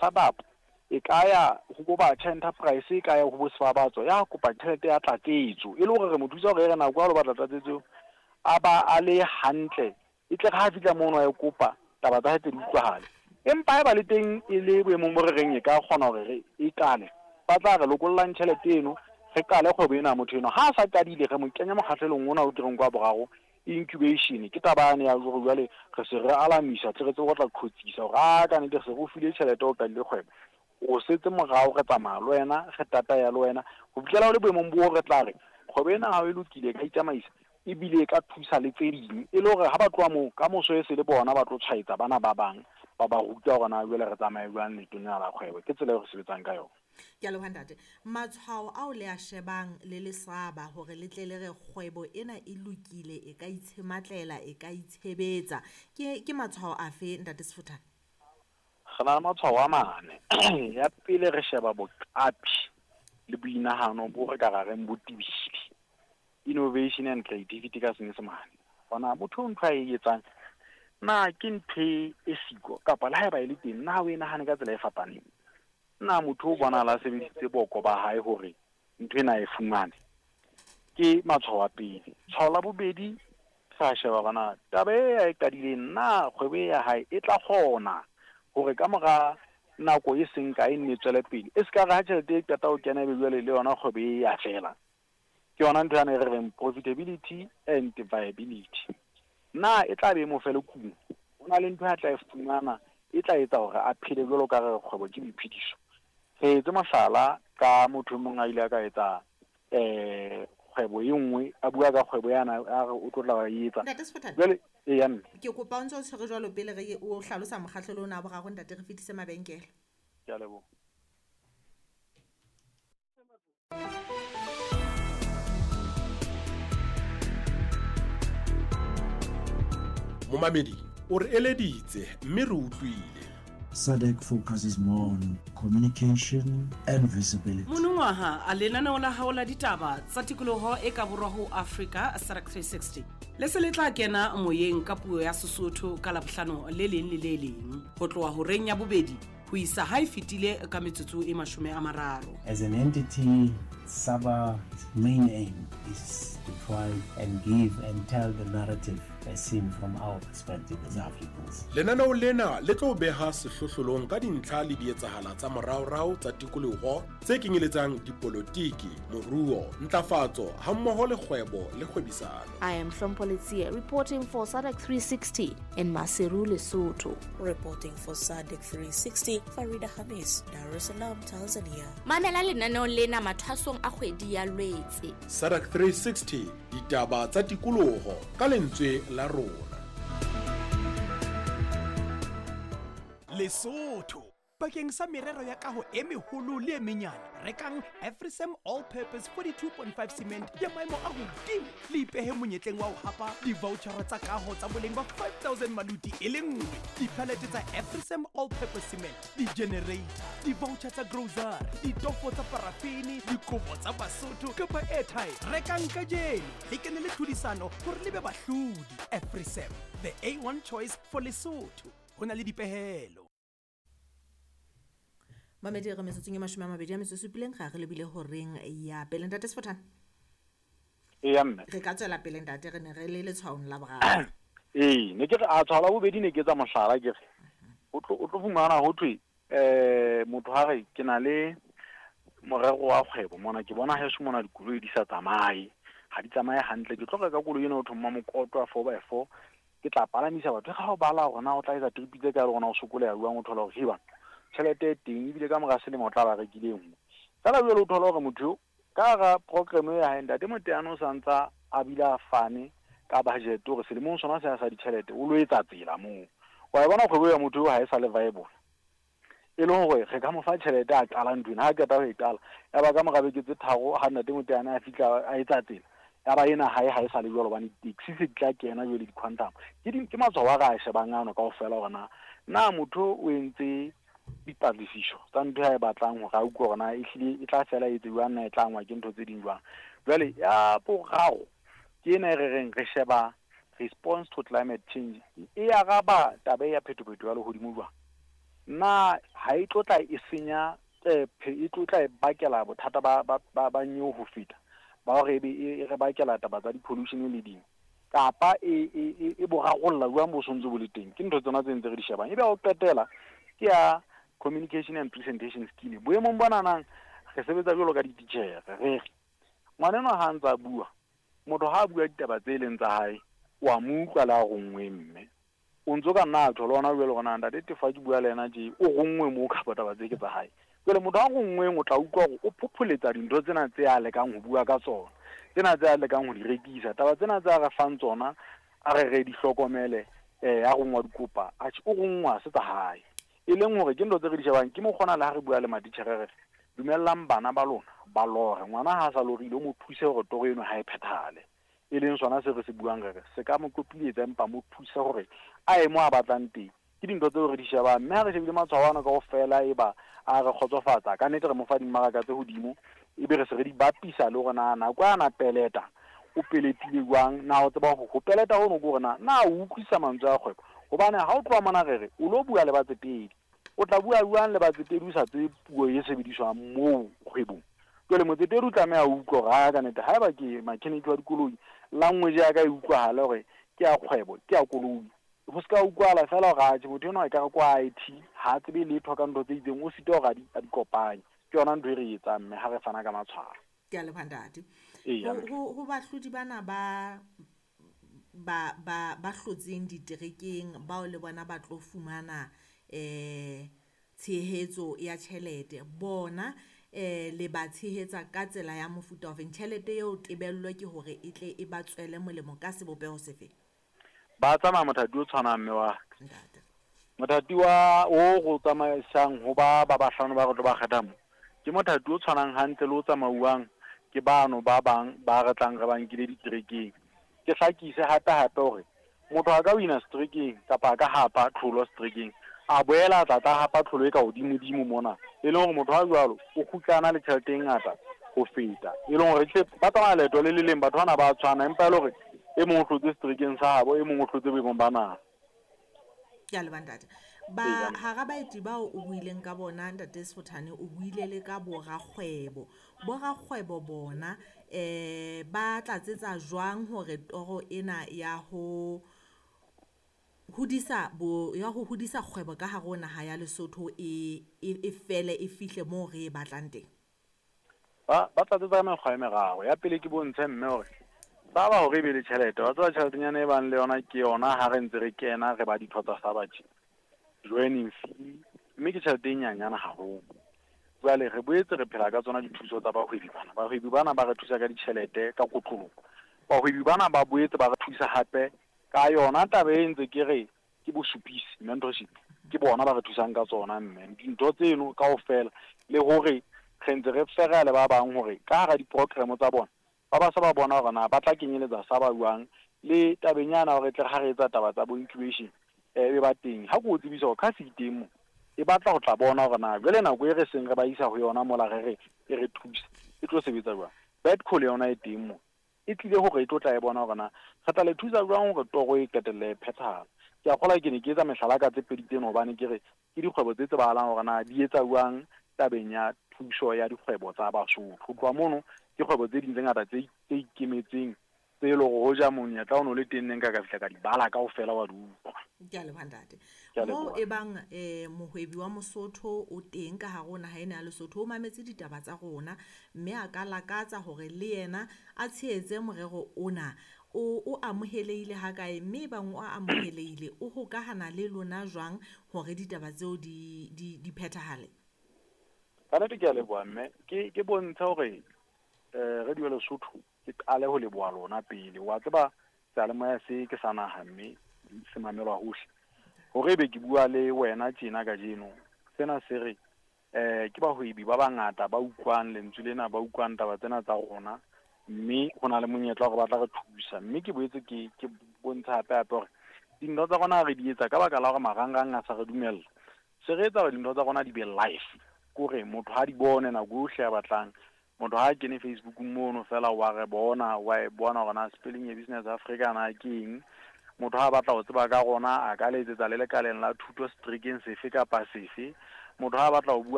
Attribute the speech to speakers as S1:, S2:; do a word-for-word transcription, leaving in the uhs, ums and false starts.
S1: Startup e ka ya ho bo Batjha Enterprise, e ka ya ho bo Sebabatso, ya kopa tjhelete ya tlatsetso, e le hore re mo thusa hore e re nako ya lo batla tlatsetso a ba a le hantle, e tle re ha fihla mono a e kopa, taba tsa hae tse di utlwahale. Empa haeba le teng e le boemong bo re reng e ka kgona hore re e qale, ba tla re lokollang tjhelete eno, re qale kgwebo ena ya motho enwa. Ha a sa qadile, re mo kenya mokgahlelong ona o ke reng kwa boraro, incubation. Ke taba yane ya hore jwale re se re alamisa, tle re tsebe ho tla qhotsisa hore a ka nnete re se re o file tjhelete o qadile kgwebo. O setse morao, re tsamaya le wena, re tataya le wena ho fihlela o le boemong bo re tla re kgwebo ena ha e lokile, e ka itsamaisa ebile e ka thusa le tse ding, e le hore ha ba tloha moo ka moso e se le bona ba tlo tshwaetsa bana ba bang, ba ba ruta hore na jwale re tsamaye jwang leetong lena la kgwebo. Ke tsela eo re sebetsang ka yona.
S2: Ke a leboha ntate. Matshwao ao le a shebang le le SABA hore le tle le re kgwebo ena e lokile, e ka itshematlela, e ka itshebetsa, ke ke matshwao afe ntate Sefothane?
S1: Re na le matshwao a mane. Ya pele, re sheba boqapi le boinahano bo re ka ra reng bo tebile, innovation and creativity ka Senyesemane. Hona motho ntho a e etsang na ke ntho e siko, kapa le haeba e le teng, na o e nahane ka tsela e fapaneng? Na motho o bonahala a sebedisitse boko ba hae hore ntho ena a e fumane? Ke matshwao a pele. Tshwao la bobedi, re a sheba hore na taba e a e qadileng, na kgwebo e ya hae e tla kgona hore ka mora nako e seng kae nne e tswele pele, e se ka re ha tjhelete e qeta ho kena ebe jwale le yona kgwebo e ya fela. Ke yona ntho yane e re reng profitability and viability. Na e tla be e mo fe le kuno? Ho na le ntho a tla e fumana e tla etsa hore a phele jwalo ka re kgwebo ke boiphediso. Re etse mohlala ka motho e mong a ile a ka etsa eh kgwebo e nngwe, a bua ka kgwebo yana, a re o tlo tla e etsa.
S2: Ntate Sefothane,
S1: Jwale e ya mme.
S2: ke kopa o ntso o tshwere jwalo pele re o hlalosa mokgahlelo ona wa boraro ntate, re fetise mabenkele.
S1: Ke a leboha.
S3: Momamedi, o re eleditse mme re utlwile.
S4: SADC focuses more on communication and visibility.
S5: Monongwaha a lenaneo la hao la ditaba tsa tikoloho e ka borwa ho Afrika SADC three sixty le se le tla kena moyeng ka puo ya Sesotho ka Labohlano le leng le le leng ho tloha horeng ya bobedi ho isa ha e fetile ka metsotso e mashome a mararo.
S4: As an entity, SABA's main aim is to try and give and tell the narrative as seen from our perspective as Africans.
S3: Lenaneo lena le tlo beha sehlohlolong ka dintlha le dietsahala tsa moraorao tsa tikoloho tse kenyeletsang dipolotiki, moruo, ntlafatso hammoho le kgwebo le kgwebisano.
S6: I am Hlompho Letsie reporting for SADC three sixty in Maseru, Lesotho.
S7: Reporting for SADC three sixty, Farida Hamis, Dar es Salaam, Tanzania.
S8: Mamela lenaneo lena mathwasong a kgwedi ya Lwetse.
S3: SADC three sixty, ditaba tsa tikoloho ka lentswe la rona.
S9: Lesotho bakeng sa merero ya kaho e meholo le e menyane, rekang Afrisem All Purpose forty-two point five cement ya maemo a hodimo le ipehe monyetleng wa ho hapa di-vouchera tsa kaho tsa boleng ba five thousand maluti e le nngwe, di-pallet tsa Afrisem All Purpose cement, di-generator, di-voucher tsa grocery, ditofo tsa parafini, dikobo tsa Basotho kapa airtime. Rekang kajeno le kene le tlhodisano hore le be bahlodi. Afrisem, the A one choice for Lesotho. Ho na le dipehelo.
S2: Mamedi, re metsotsong e mashome a mabedi a metso e supileng, ga re lebile horeng ya pele. Ntate Sefothane?
S1: E ya mme.
S2: Re ka tswela pele ntate, re ne re le letshwaong la boraro.
S1: Ee, ne ke re a tshwao la bobedi ne ke etsa mohlala, ke re o tlo, o tlo fumana ho thwe, eh, motho ha re ke na le morero wa kgwebo mona, ke bona heso mona dikoloi di sa tsamaye, ha di tsamaye hantle, ke tlo reka koloi ena ho thoma mokoto wa four by four, ke tla palamisa batho. Ha o bala hore na o tla etsa trip tse kae le hore na o sokoleha jwang, o thola hore heba tjhelete e teng ebile ka mora selemo o tla ba rekile e nngwe. Feela jwale o thola hore motho eo ka hara program ya hae ntate Moteane o sa ntsa a bile a fane ka budget hore selemong sona se sa ditjhelete o lo etsa tsela moo. Wa e bona kgwebo ya motho eo ha e sa le viable, e le hore re ka mo fa tjhelete a qala ntho ena, ha qeta ho e qala ya ba ka mora beke tse tharo ha ntate Moteane a fihla a etsa tsela ya ba ena hae ha e sa le jwalo, hobane di-taxi se di tla kena jwale di-quantum. Ke di, ke matshwao a re a shebang ano kaofela hore na, na motho o entse dipatlisiso tsa ntho ya e batlang hore a utlwe hore na ehlile e tla fela e etse jwang, na e tla angwa ke ntho tse ding jwang. Jwale ya boraro ke ena e re reng re sheba response to climate change, e araba taba ya phetophetoho ya lehodimo jwang. Na ha e tlo tla e senya e tlo tla e bakela bothata ba ba ba nyeo ho feta ba hore e be e re bakela taba tsa di-pollution le ding kapa e e e bo rarolla jwang bo sontse bo le teng. Ke ntho tsona tse ntse re di shebang. Ebe ho qetela ke ya communication and presentation skill. Boemong bona nang re sebetsa jwalo ka dititjhere, re re ngwanenwa ha ntsa bua, motho ha bua ditaba tse leng tsa hae wa mo utlwa le a rongwe, mme o ntso ka nna tho lona jwalo gona ntate Tefa ke bua le yena tje o rongwe mo kapa taba tse ke tsa hae. Jwale motho a rongweng o tla utlwa hore o phopholetsa dintho tsena tse a lekang ho bua ka tsona, tsena tse a lekang ho di rekisa, taba tsena tse a re fang tsona a re re di hlokomele. Eh a rongwa dikopa atjhe o rongwa se tsa hae, e leng hore ke ntho tse re di shebang. Ke mo kgona le ha re bua le matitjhere re dumellang bana ba lona ba lore, ngwana ha sa lorile o mo thuse hore toro eno ha e phethahale, e leng sona se re se buang re re se ka mo kopiletsa empa mo thuse hore a ye mo a batlang teng. Ke dintho tseo re di shebang, mme ha re shebile matshwao ana kaofela e ba a re kgotsofatsa ka nnete, re mo fa dimmaraka tse hodimo, ebe re se re di bapisa le hore na nako a na peleta o peletile jwang, na o tseba ho peleta hono ke hore na na o utlwisisa mantswe a kgwebo. Hobane ha o tloha mona re re o lo bua le batsetedi, o tla bua jwang le batsetedi o sa tsebe puo e sebediswang moo kgwebong? Jwale motsetedi o tlameha o utlwe hore ha ka nnete haeba ke mechanic wa dikoloi, language ya ka e utlwahale hore ke ya kgwebo, ke ya koloi. Ho ska utlwahala fela hore atjhe motho enwa e ka re kwa I T ha tsebe letho ka ntho tse itseng, o sitwa hore a di kopanye. Ke yona ntho e re etsang mme ha re fana ka matshwao.
S2: Ke a leboha ntate. Ho ho bahlodi bana ba ba ba ba hlotseng diterekeng bao le bona ba tlo fumana eh tshehetso ya tjhelete, bona eh le ba tshehetsa ka tsela ya mofuta ofe? Tjhelete eo tebello ke hore e tle e ba tswele molemo ka sebopeho sefe?
S1: Ba tsamaya mothati o tshwanang mme wa mothati wa o go tsamaisang ho ba ba bahlano ba re tlo ba kgetha mo, ke mothati o tshwanang hantle le o tsamauwang ke bano ba bang ba re tlang re ba nkile diterekeng. Ke hlakise hape hape hore motho a ka wina seterekeng kapa a ka hapa tlholo seterekeng, a boela a tla tla hapa tlholo e ka hodimodimo mona, e leng hore motho ha jwalo o kgutlana le tjhelete e ngata ho feta, e leng hore ba tsamaya leeto le le leng, batho bana ba tshwana, empa e le hore e mong o hlotse seterekeng sa habo, e mong o hlotse boemong ba naha.
S2: Ke a leboha ntate. Ba hara baeti bao o buileng ka bona ntate Sefothane, o buile le ka borakgwebo. Borakgwebo bona eh ba tlatsetsa jwang hore toro ena ya ho hodisa bo ya ho hodisa kgwebo ka hare ho naha ya Lesotho e e fele e fihle moo re e batlang teng?
S1: Ba ba tlatsetsa ka mekgwa e meraro. Ya pele ke bontshe mme hore ba ba hore e be le tjhelete, wa tseba tjheletenyana e bang le yona ke yona ha re ntse re kena re ba ditho tsa SABA tje, joining fee, mme ke tjhelete e nyanyana haholo. Jwale re boetse re phela ka tsona dithuso tsa bahwebi bana. Bahwebi bana ba re thusa ka ditjhelete ka kotloloho. Bahwebi bana ba boetse ba re thusa hape ka yona taba e ntse ke re ke bosupisi, mentorship, ke bona ba re thusang ka tsona mme dintho tseno kaofela, le hore re ntse re fera le ba bang hore ka hara di-program tsa bona ba ba sa ba bona hore na ba tla kenyeletsa sa ba buang le tabeng yana hore tle ha re etsa taba tsa bo incubation e be ba teng. Ha ke o tsebisa hore ka se teng mo e batla ho tla bona hore na jwale nako e re seng re ba isa ho yona mola re re e re thusa e tlo sebetsa jwang. Bedco le yona e teng mo e tlile hore e tlo tla e bona hore na re tla le thusa jwang hore toro e qetelle e phethahala. Ke a kgolwa ke ne ke etsa mehlala ka tse pedi tseno hobane ke re ke dikgwebo tse tsebahalang hore na di etsa jwang tabeng ya thuso ya dikgwebo tsa Basotho. Ho tloha mono ke kgwebo tse ding tse ngata tse tse ikemetseng tse e leng hore hoja monyetla o no le teng neng ka ka fihla ka di bala kaofela wa di utlwa.
S2: Ke a leboha ntate. Mo e bang eh mohwebi wa Mosotho o teng ka hare ho naha ena ya Lesotho, o mametse ditaba tsa rona mme a ka lakatsa hore le yena a tshehetse morero ona, o o amohelehile ha kae, mme bang o amohelehile o hokahana le lona jwang hore ditaba tseo di di di phethahale?
S1: Ka nnete ke a leboha mme ke ke bontsha hore eh Radio Lesotho ke qale ho leboha lona pele. Wa tseba seyalemoya se ke sa naha mme se mamelwa hohle. Hore ebe ke bua le wena tjena kajeno, sena se re eh ke bahwebi ba bangata ba utlwang lentswe lena, ba utlwang taba tsena tsa rona, mme ho na le monyetla hore ba tla re thusa. Mme ke boetse ke ke bontsha hape hape hore dintho tsa rona re di etsa ka baka la hore marangrang a sa re dumella. Se re etsa hore dintho tsa rona di be live, kore motho ha di bone nako yohle a batlang. Motho ha kene Facebook mono fela wa re bona, wa e bona hore na spelling ya Business Africa na ke eng. Motho ha a batla ho tseba ka rona a ka letsetsa le lekaleng la thuto seterekeng sefe kapa sefe. Motho ha a batla ho bua